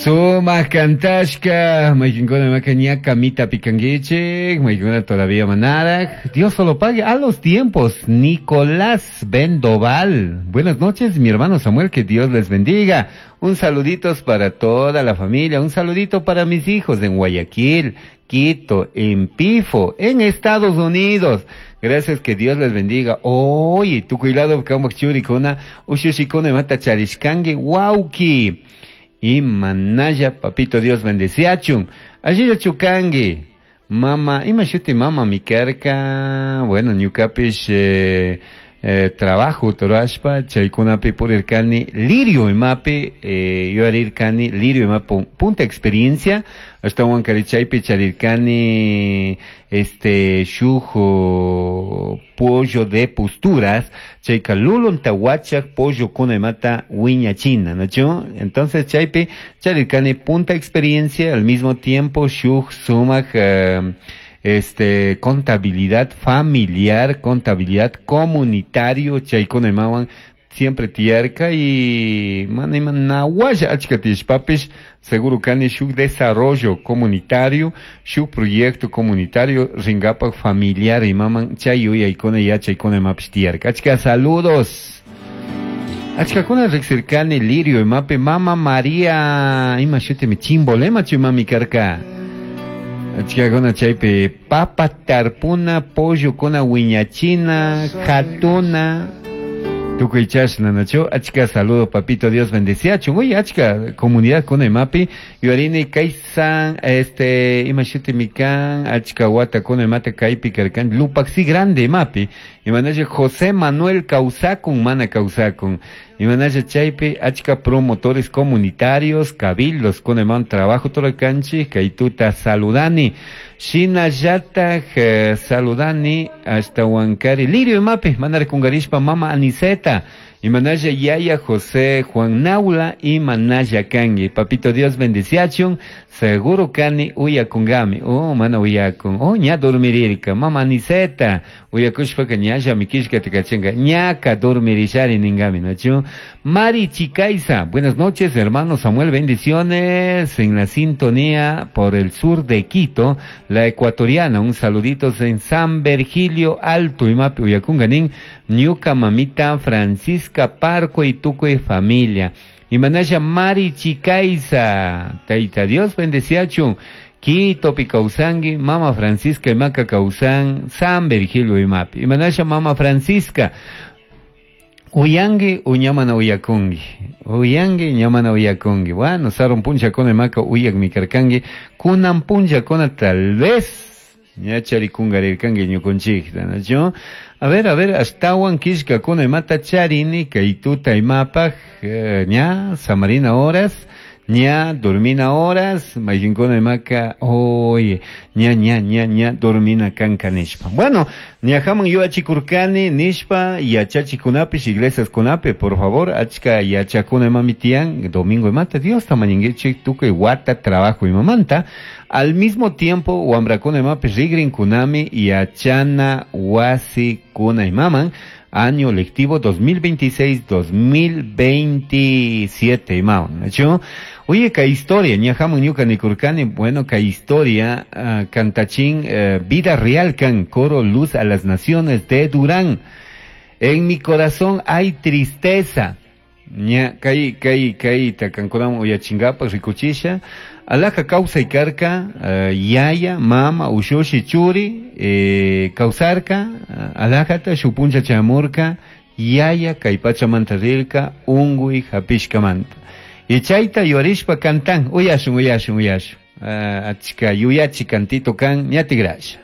Sumaj cantashka, mayqinkuna imaka ña kamitapi kankichik, mayqinkuna todavía manaraj. Dios solo pague a los tiempos. Nicolás Bendoval. Buenas noches, mi hermano Samuel, que Dios les bendiga. Un saluditos para toda la familia, un saludito para mis hijos en Guayaquil, Quito, en Pifo, en Estados Unidos. Gracias, que Dios les bendiga. Oye, tu cuidado, churikuna, ushushikuna imata charishkanki, wauki. Y manaya, papito Dios bendeciachun. Allí chukangi. Mama, ima shuti mama mi karka. Bueno, ñukapish trabajo rurashpa chaykunapi purirkani lirio imapi yuyarirkani lirio imapi punta experiencia ashtawankari chaypi charirkani este shuk pollo de posturas chayka lulunta wachak pollokuna imata wiñachina, ¿no? Entonces chaypi charirkani punta experiencia al mismo tiempo shuk sumak contabilidad familiar, contabilidad comunitario, chaykuna imawan siempre tiyarka y mana ima nawalla achka tiyashpapish seguro kani shuk desarrollo comunitario, shuk proyecto comunitario ringapak familiar imaman chay yuyaykuna yachaykuna imapish tiyarka. Achka saludos. Achkakuna riksirkani lirio imapi mama María ima shutimi chimbolema chimami karka. Achkakuna chaypi papa tarpuna, pollokuna wiñachina, jatuna. Tukuy chashna, nachu? Achka saludo, papito, Dios bendeciachun. Uy, achka comunidad kuna imapi. Yuarini kaysan, ima shutimi kan, achka wata kuna imata kaypi karkan, Lupaxi grande imapi. Imanacha José Manuel Causacun, mana Causacun. Imanacha chaypi, achka promotores comunitarios, cabildos, kuna iman trabajo torokanchi, kaytuta saludani. Shinallataj saludani hasta Huancari, Lirio imapi, mandar kungarishpa mama Aniseta, imanaya yaya José Juan Naula y manaya kangi. Papito Dios bendiciachun, seguro kani uyakungami. Oh, mana uyakun. Oh, ña dormirirka. Mama Aniseta, uyakushpaka ñalla mikishka tikachenga. Ñaka dormirishari ningami, ¿no? Mari Chicaiza, buenas noches, hermano Samuel, bendiciones en la sintonía por el sur de Quito, la ecuatoriana, un saludito en San Virgilio Alto, imapi uyakunganin, ñuka mamita Francisca Parco y tuco y familia. Y manaya Mari Chicaiza, Taita Dios bendeciachun, Quito Picausangi, Mama Francisca y Maca Causan, San Virgilio y Mapi. Y manaya Mama Francisca, Uyangi, uñamana uyakungi. Uyangi, ñamana uyakungi. Bueno, sarun puncha con el maca uyak mi karkangi. Kunan puncha con tal vez. Ñachari kungarirkangi ñukunchikta, ¿no? A ver, ashtawan kishka kuna imata charini, kaytuta imapaj, ña, samarina horas, ña, dormina horas, mayqinkuna imaka, oye, ña, ña, ña, ña, dormina kanka nishpa. Bueno, ñajaman yuachikurkani nishpa, yachachikunapish, iglesias kunapi, por favor, achka yachakuna imami tiyan, domingo imata, Dios tamañinguichik, tukuy wata trabajo imamanta. Al mismo tiempo, wambrakuna imapish rigrinkunami, yachana wasi kuna imaman, año lectivo 2026-2027, imaman, ¿no? Oye, ka historia, ñajamun ñuka nikurkani, bueno, ka historia, cantachín, vida real kan, coro luz a las naciones de Durán. En mi corazón hay tristeza. Ña, kai, kai, kai, takankunam uyachingapa, rikuchisha. Alaka causa y karka, yaya, mama, ushushi, churi, causarka, alajata, shupuncha chamurka, yaya, kaypacha manta rirka, ungui, hapishka manta. Y chayta yuarishpa cantan, uyashun, uyashun, uyashun. Achka yuyachi cantito kan, ñatigrasha.